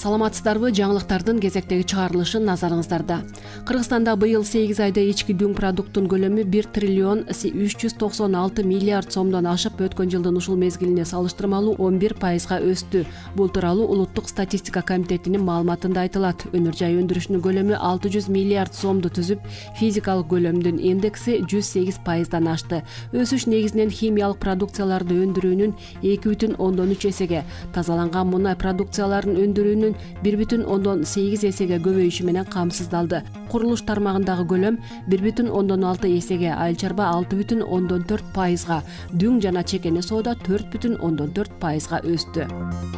Саламатсыздарбы? Жаңылыктардын кезектеги чыгарылышы назарыңыздарда. Кыргызстанда быйыл 8 айда ички дүң продукттун көлөмү 1 триллион 396 миллиард сомдон ашып, өткөн жылдын ушул мезгилине салыштырмалуу 11%га өстү. Бул тууралуу Улуттук статистика комитетинин маалыматында айтылат. Өнөр жай өндүрүшүнүн көлөмү 600 миллиард сомду түзүп, физикалык көлөмдүн индекси 108%дан ашты. Өсүш негизинен химиялык продукцияларды өндүрүүнүн 2,3 эсеге, тазаланган мунай продукцияларын өндүрүүнүн 1,8 эсеге көбөйүшү менен камсыздалды. Курулуш тармагындагы көлөм 1,6 эсеге, айыл чарба 6,4%га, дүң жана чекене соода 4,4%га өстү.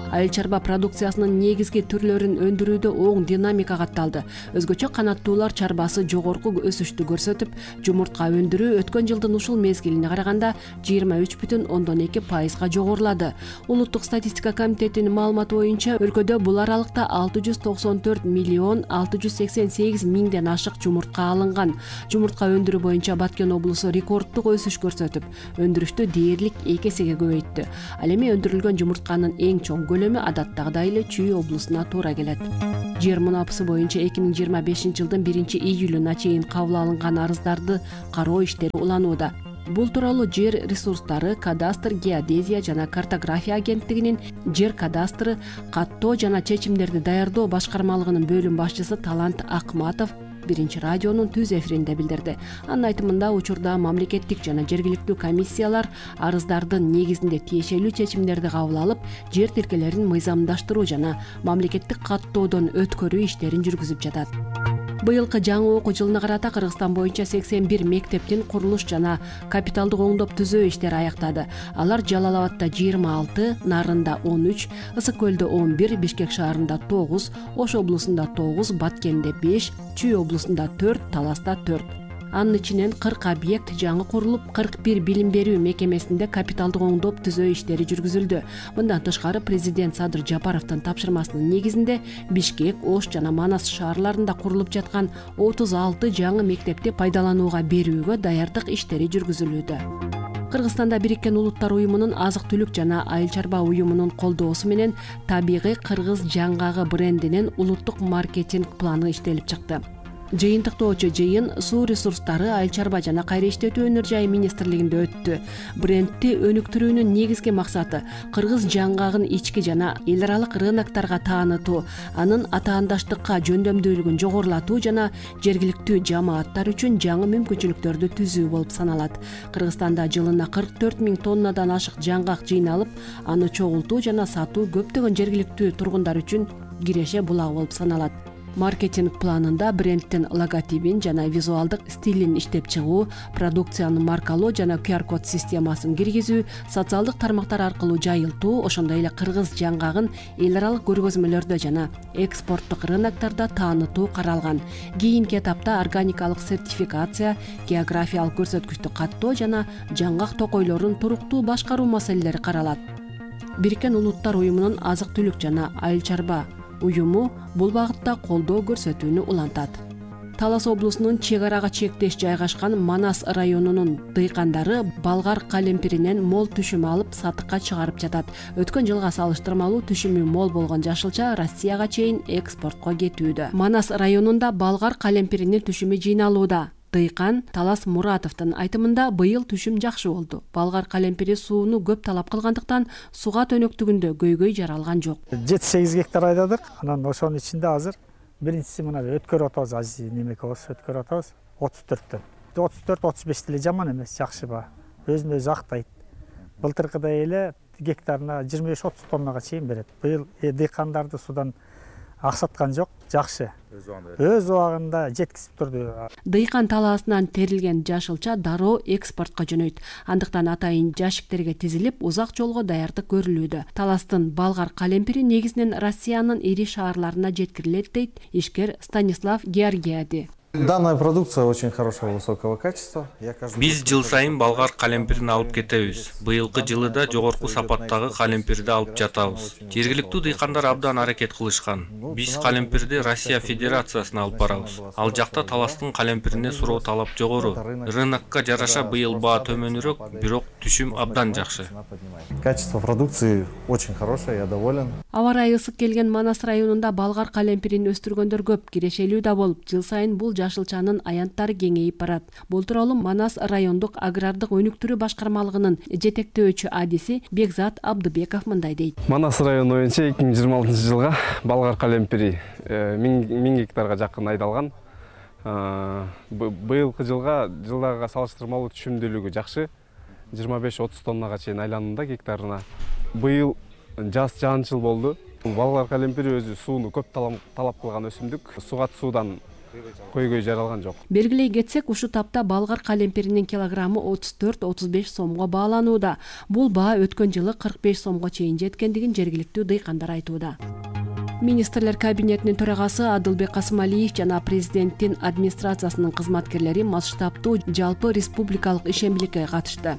Айыл чарба продукциясынын негизги түрлөрүн өндүрүүдө оң динамика катталды. Өзгөчө канаттуулар чарбасы жогорку өсүштү көрсөтүп, жумуртка өндүрүү өткөн жылдын ушул мезгилине караганда 23,2%га жогорулады. Улуттук статистика комитетинин маалыматы боюнча, өлкөдө бул аралыкта 694 миллион 688 миңден ашык жумуртка алынган. Жумуртка өндүрүү боюнча Баткен облусу рекорддук өсүш көрсөтүп, өндүрүштү дээрлик 2 эсеге көбөйттү. Ал эми өндүрүлгөн жумуртканын эң чоң көлөмү адаттагыдай эле Чүй облусуна туура келет. Жер мунапысы боюнча 2025 жылдын 1-июлуна чейин кабыл алынган арыздарды кароо иштери уланууда. Бул тууралуу Жер ресурстары, кадастр, геодезия жана картография агенттигинин жер кадастры, каттоо жана чечимдерди даярдоо башкармалыгынын бөлүм башчысы Талант Акматов Биринчи радионун түз эфиринде билдирди. Анын айтымында, учурда мамлекеттик жана жергиликтүү комиссиялар арыздардын негизинде тиешелүү чечимдерди кабыл алып, жер тилкелерин мыйзамдаштыруу жана мамлекеттик каттоодон өткөрүү иштерин жүргүзүп жатат. Быйылкы жаңы окуу жылына карата Кыргызстан боюнча 81 мектептин курулуш жана капиталдык оңдоп түзөө иштери аяктады. Алар Жалал-Абадда 26, Нарында 13, Ысык көлдө 11, Бишкек шаарында 9, Ош облусунда 9, Баткенде 5, Чүй облусунда 4, Таласта 4. Анын ичинен 40 объект жаңы курулуп, 41 билим берүү мекемесинде капиталдык оңдоп түзөө иштери жүргүзүлдү. Мындан тышкары, президент Садыр Жапаровдун тапшырмасынын негизинде Бишкек, Ош жана Манас шаарларында курулуп жаткан 36 жаңы мектепти пайдаланууга берүүгө даярдык иштери жүргүзүлүүдө. Кыргызстанда Бириккен Улуттар уюмунун азык-түлүк жана айыл чарба уюмунун колдоосу менен Табигый кыргыз жаңгагы брендинин улуттук маркетинг планы иштелип чыкты. Жыйынтыктоочу жыйын суу ресурстары, айыл чарба жана кайра иштетүү өнөр жайы министрлигинде өттү. Брендти өнүктүрүүнүн негизги максаты кыргыз жаңгагын ички жана эл аралык рыноктарга таанытуу, анын атаандаштыкка жөндөмдүүлүгүн жогорулатуу жана жергиликтүү жамааттар үчүн жаңы мүмкүнчүлүктөрдү түзүү болуп саналат. Кыргызстанда жылына 44 000 тоннадан ашык жаңгак жыйналып, аны чогултуу жана сатуу көптөгөн жергиликтүү тургундар үчүн киреше булагы болуп саналат. Маркетинг планында брендтин логотипин жана визуалдык стилин иштеп чыгуу, продукцияны маркалоо жана QR-код системасын киргизүү, социалдык тармактар аркылуу жайылтуу, ошондой эле кыргыз жаңгагын эл аралык көргөзмөлөрдө жана экспорттук рыноктарда таанытуу каралган. Кийинки этапта органикалык сертификация, географиялык көрсөткүчтү каттоо жана жаңгак токойлорун туруктуу башкаруу маселелери каралат. Бириккен Улуттар уюмунун азык-түлүк жана айыл чарба уюму бул багытта колдоо көрсөтүүнү улантат. Талас облусунун чек арага чектеш жайгашкан Манас районунун дыйкандары балгар калемпиринен мол түшүм алып сатыкка чыгарып жатат. Өткөн жылга салыштырмалуу түшүмү мол болгон жашылча Россияга чейин экспортко кетүүдө. Манас районунда балгар калемпиринин түшүмү жыйналууда. Дыйкан Талас Муратовдун айтымында, быйыл түшүм жакшы болду. Балгар калемпири сууну көп талап кылгандыктан суга төнөктүгүндө көйгөй жаралган жок. 7-8 гектар айдадык. Анан ошонун ичинде азыр биринчиси мына өткөрүп атабыз, немекебиз өткөрүп атабыз 34төн. 34-35 деле жаман эмес, жакшы ба. Өзүн өзү актайт. Былтыркыдай эле гектарына 25-30 тоннага чейин берет. Быйыл дыйкандарды судан аксаткан жок, жакшы. Өз убагында жеткизип турду. Дыйкан талаасынан терилген жашылча дароо экспортко жөнөйт. Андыктан атайын жашиктерге тизилип, узак жолго даярдык көрүлүүдө. Таластын балгар калемпири негизинен Россиянын ири шаарларына жеткирилет, дейт ишкер Станислав Георгиади. Данная продукция очень хорошего, высокого качества. Биз жыл сайын балгар калемпирин алып кетебиз. Быйылкы жылы да жогорку сапаттагы калемпирди алып жатабыз. Жергиликтүү дыйкандар абдан аракет кылышкан. Биз калемпирди Россия Федерациясына алып барабыз. Ал жакта таластын калемпирине суроо талап жогору. Рынокко жараша быйыл баа төмөнүрөөк, бирок түшүм абдан жакшы. Качество продукции очень хорошее, я доволен. Аба ырайы ысык келген Манас районунда балгар калемпирин өстүргөндөр көп, кирешелүү да болуп, жыл сайын бул жашылчанын аянттары кеңейип барат. Бул тууралуу Манас райондук агрардык өнүктүрүү башкармалыгынын жетектөөчү адиси Бекзат Абдыбеков мындай дейт. Манас району боюнча 2026 жылга балгар калемпири 1000 гектарга жакын айдалган. Быйылкы жылдагыга салыштырмалуу түшүмдүүлүгү жакшы. 25-30 тоннага чейин айланууда гектарына. Быйыл жаз жаанчыл болду. Балгар калемпири өзү сууну көп талап кылган өсүмдүк. Сугат суудан көйгөй жаралган жок. Белгилей кетсек, ушул тапта балгар калемпиринин килограммы 34-35 сомго бааланууда. Бул баа өткөн жылы 45 сомго чейин жеткендигин жергиликтүү дыйкандар айтууда. Министрлер кабинетинин төрагасы Адылбек Касымалиев жана президенттин администрациясынын кызматкерлери масштабтуу жалпы республикалык ишембиликке катышты.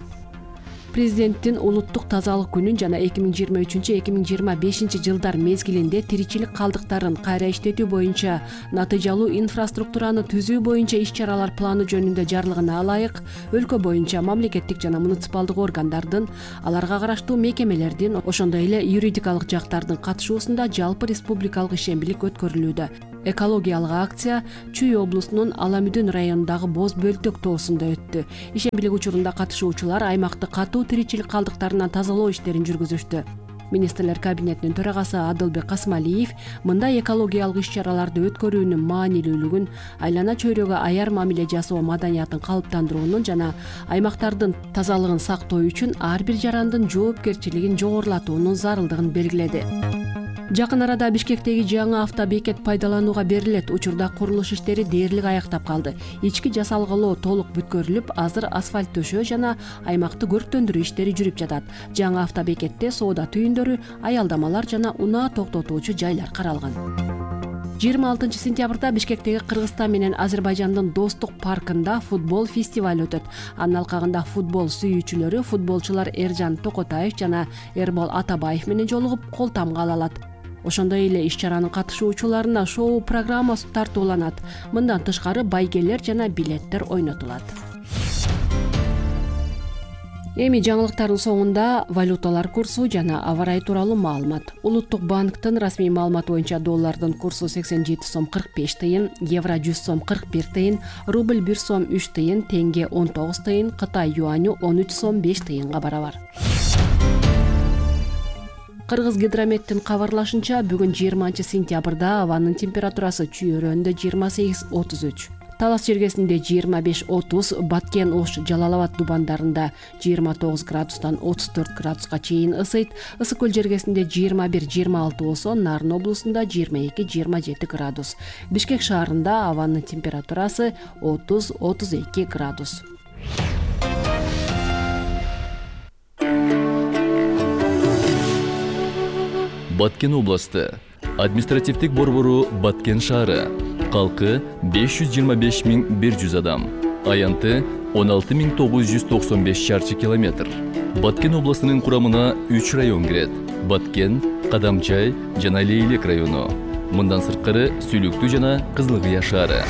Президенттин улуттук тазалык күнүн жана 2023-2025 жылдар мезгилинде тиричилик калдыктарын кайра иштетүү боюнча натыйжалуу инфраструктураны түзүү боюнча иш-чаралар планы жөнүндө жарлыгына ылайык өлкө боюнча мамлекеттик жана муниципалдык органдардын, аларга караштуу мекемелердин, ошондой эле юридикалык жактардын катышуусунда жалпы республикалык ишембилик өткөрүлүүдө. Экологиялык акция Чүй облусунун Аламүдүн районундагы Боз Бөлтөк тоосунда өттү. Ишембилик учурунда катышуучулар аймакты катуу тиричилик калдыктарынан тазалоо иштерин жүргүзүштү. Министрлер кабинетинин төрагасы Адылбек Касымалиев мындай экологиялык иш-чараларды өткөрүүнүн маанилүүлүгүн, айлана чөйрөгө аяр мамиле жасоо маданиятын калыптандыруунун жана аймактардын тазалыгын сактоо үчүн ар бир жарандын жоопкерчилигин жогорулатуунун зарылдыгын белгиледи. Жакын арада Бишкектеги жаңы автобекет пайдаланууга берилет. Учурда курулуш иштери дээрлик аяктап калды. Ички жасалгалоо толук бүткөрүлүп, азыр асфальт төшөө жана аймакты көрктөндүрүү иштери жүрүп жатат. Жаңы автобекетте соода түйүндөрү, аялдамалар жана унаа токтотуучу жайлар каралган. 26 сентябрда Бишкектеги Кыргызстан менен Азербайжандын достук паркында футбол фестиваль өтөт. Анын алкагында футбол сүйүүчүлөрү, футболчулар Эржан Токотаев жана Эрбол Атабаев менен жолугуп кол тамга ала алат. Ошондой эле иш-чаранын катышуучуларына шоу программасы тартууланат. Мындан тышкары байгелер жана билеттер ойнотулат. Эми жаңылыктардын соңунда валюталар курсу жана аба ырайы тууралуу маалымат. Улуттук банктын расмий маалыматы боюнча доллардын курсу 87 сом 45 тыйын, евро 100 сом 41 тыйын, рубль 1 сом 3 тыйын, тенге 19 тыйын, Кытай юаню 13 сом 5 тыйынга барабар. Кыргыз гидрометтин кабарлашынча, бүгүн 20 сентябрда абанын температурасы Чүй өрөөнүндө 28-33, Талас жергесинде 25-30, Баткен, Ош, Жалал-Абад дубандарында 29 градустан 34 градуска чейин ысыйт. Ысык көл жергесинде 21-26 болсо, Нарын облусунда 22-27 градус. Бишкек шаарында абанын температурасы 30-32 градус. Баткен областы, административдик борбору Баткен шаары, калкы 525.100 адам, аянты 16.995 шарчы километр. Баткен областынын курамына 3 район кирет: Баткен, Кадамчай жана Лейлек району. Мындан сырткары Сүлүктүү жана Кызылкыя шаары.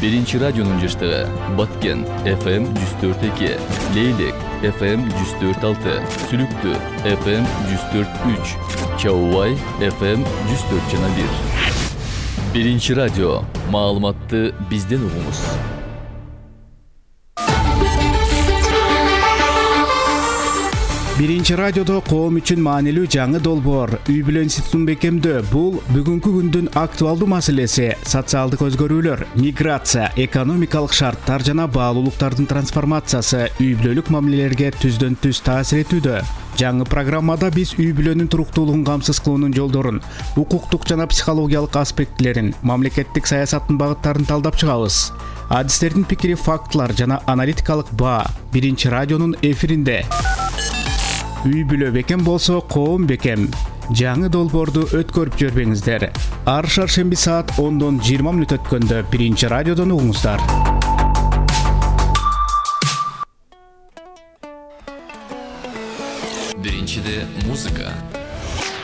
Биринчи радионун жаштыгы: Баткен FM 104.2, Лейлек FM 104.6, Сүлүктүү FM 104.3, Чаубай FM 104.1. Биринчи радио. Маалыматты бизден угуңуз. Биринчи радиодо коом үчүн маанилүү жаңы долбоор үй бүлө институтун бекемдөө. Бул бүгүнкү күндүн актуалдуу маселеси. Социалдык өзгөрүүлөр, миграция, экономикалык шарттар жана баалуулуктардын трансформациясы үй бүлөлүк мамилелерге түздөн түз таасир этүүдө. Жаңы программада биз үй бүлөнүн туруктуулугун камсыз кылуунун жолдорун, укуктук жана психологиялык аспектилерин, мамлекеттик саясаттын багыттарын талдап чыгабыз. Адистердин пикири, фактылар жана аналитикалык баа биринчи радионун эфиринде. Үй бүлө бекем болсо, коом бекем. Жаңы долбоорду өткөрүп жөрбөңүздөр. Ар шаршемби саат 10-дон 20 мүнөт өткөндө биринчи радиодон угуңуздар. Биринчиде музыка,